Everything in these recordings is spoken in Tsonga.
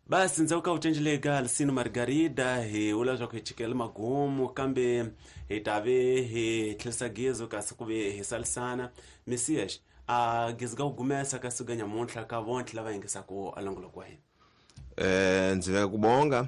Basi ndzhaku ka vucencele ga Licínio Margarida hi vula leswaku hi chikele magumu kambe hi ta ve hi tlherisa gezo kasi ku ve hi salisana Messias a gezo ka ku gumesa ka siku nyamuntlha ka vontlhe lava yingisaka a longoloko wa hina. Ndzi veka ku bonga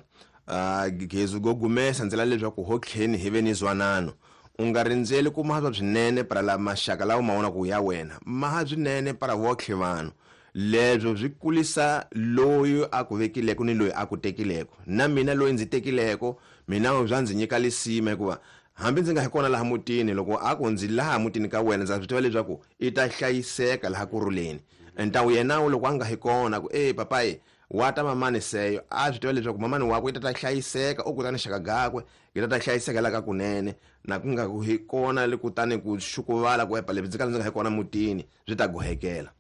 gezu go gumesa ndzi la leswaku hotlheni hi ve ni zwanano u nga rindzeli ku maha swinene para la maxaka lawa ma vona ku ya wena maha swinene para votlhe vanhu leswo swi kulisa loyi a ku vekileko ni loyi a ku tekileko na mina loyi ndzi tekileko mina swa ndzi nyika lisima hikuva hambi ndzi nga hi kona laha mutini loko a ku ndzi laha mutini ka wena ndza swi tiva leswaku i ta hlayiseka laha kurhuleni ntawu yena loko a nga hi kona ku e papayi wa ta mamani seyo a swi tiva leswaku mamani wakwe i ta ta hlayiseka u kutani xaka gakwe yi ta ta hlayiseka la ka kunene na ku nga ku hi kona le kutani ku xukuvala ku epa lebyi ndzi ka ndzi nga hi kona mutini swi ta gohekela.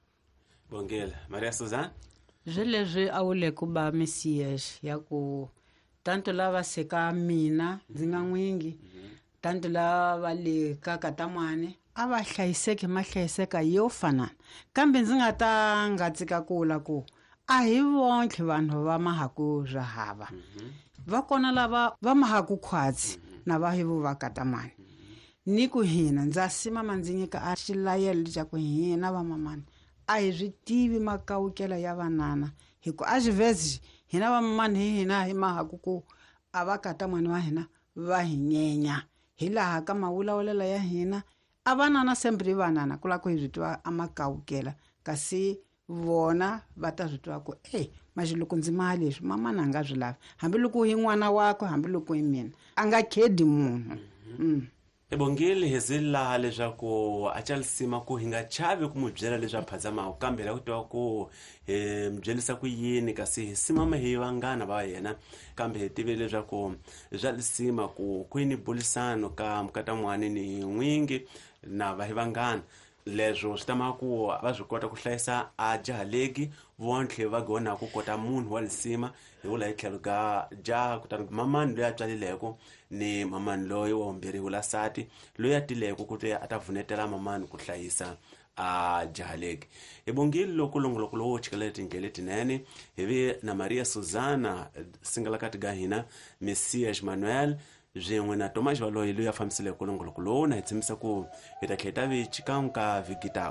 Bongela Maria Suzanne. Swi leswi a wu le ku ba Messias ya ku tanto lava seka mina ndzi nga n'wingi tanto lava le ka katamani a va hlayiseki mahlayiseka yo fanana kambe ndzi nga ta nga tsika ku vula ku a hi vontlhe vanhu va mahaku swa hava va kona lava va mahaku khwatsi na va hi vo va katamani ni ku hina ndza simama ndzi nyika a xilayelo xa ku hina vamamani a hi swi tivi makawukela ya vanana hi ku a xivhezi hina vamamani hi hina hi mahaku ku a va katamani wa hina va hi nyenya hi laha ka mavulavulela ya hina a vanana sembri vanana ku lava ku hi swi tiva a makawukela kasi vona va ta swi tiva ku e maxi loko ndzi maha leswi mamana a nga swi lavi hambiloko hi n'wana wakwe hambiloko hi mina a nga khedi munhu. Ebongile hi zi laha leswaku a calisima ku hi nga chavi ku n'wi byela leswi a phazamaka kambe la ku tiva ku hi mi byelisa ku yini kasi hi simama hi vanghana va yena kambe hi tive leswaku swa lisima ku kwini bulisano ka mukatamwani ni n'wingi na va hi vanghana leswo swi tama ku va swi kota ku hlayisa a jaha legi vontlhe va gona ku kota munhu wa lisima hi vula hi tlhelo ka jaha kutani mamani loyi a tswalileko ni mamani loyi wa vumbirhi wula sati loyi a tileko ku te a ta vunetela mamani ku hlayisa a jaha legi. Hi bongile loko longoloko lowo chikela tindlela letinene hi vi na Maria Suzana singalakati ga hina Messias Manuel swin'we na Tomas Valoyi loyi a fambiseleke longoloko lowu na hi tshembisa ku hi ta tlhela hi ta vi xikan'we ka vhiki tako.